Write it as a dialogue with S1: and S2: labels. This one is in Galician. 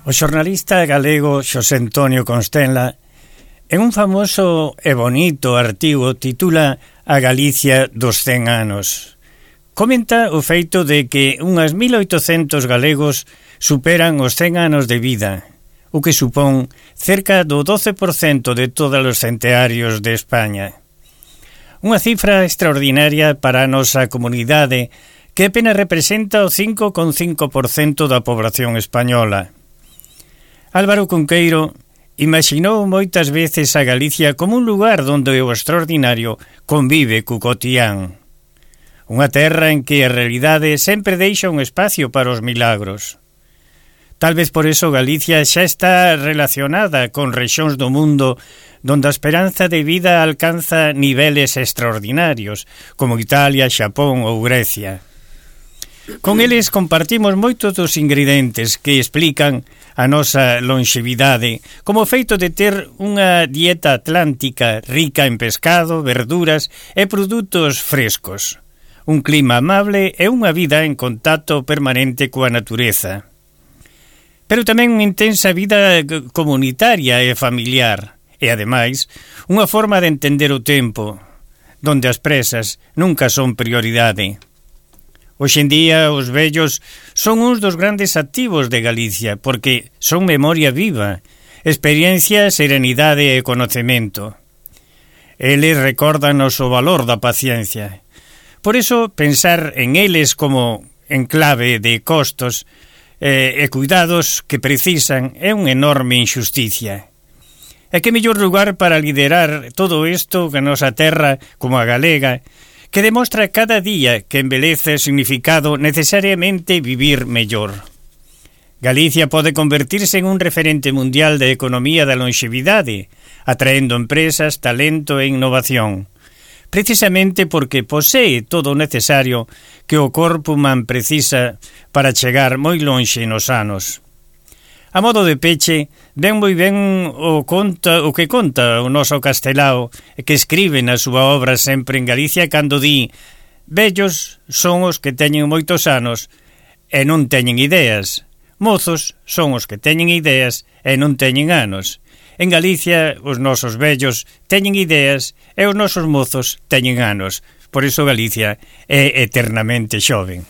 S1: O xornalista galego Xosé Antonio Constenla, en un famoso e bonito artigo, titula A Galicia dos 100 anos. Comenta o feito de que unhas 1800 galegos superan os 100 anos de vida, o que supón cerca do 12% de todos os centearios de España. Unha cifra extraordinaria para a nosa comunidade que apenas representa o 5,5% da poboación española. Álvaro Cunqueiro imaxinou moitas veces a Galicia como un lugar onde o extraordinario convive co cotián. Unha terra en que a realidade sempre deixa un espacio para os milagros. Tal vez por eso Galicia xa está relacionada con rexións do mundo donde a esperanza de vida alcanza niveles extraordinarios, como Italia, Xapón ou Grecia. Con eles compartimos moitos dos ingredientes que explican a nosa longevidade, como o feito de ter unha dieta atlántica rica en pescado, verduras e produtos frescos, un clima amable e unha vida en contacto permanente coa natureza. Pero tamén unha intensa vida comunitaria e familiar, e ademais unha forma de entender o tempo, donde as presas nunca son prioridade. Hoxe en día os vellos son uns dos grandes activos de Galicia porque son memoria viva, experiencia, serenidade e conocemento. Eles recórdanos o valor da paciencia. Por iso, pensar en eles como en clave de costos e cuidados que precisan é unha enorme injusticia. E que mellor lugar para liderar todo isto que a nosa terra, como a galega, que demostra cada día que embelece o significado necesariamente vivir mellor. Galicia pode convertirse en un referente mundial de economía da longevidade, atraendo empresas, talento e innovación, precisamente porque posee todo o necesario que o corpo humano precisa para chegar moi lonxe nos anos. A modo de peche, ven moi ben o que conta o noso Castelao, que escribe na súa obra sempre en Galicia cando di: vellos son os que teñen moitos anos e non teñen ideas, mozos son os que teñen ideas e non teñen anos. En Galicia os nosos vellos teñen ideas e os nosos mozos teñen anos. Por iso Galicia é eternamente xoven.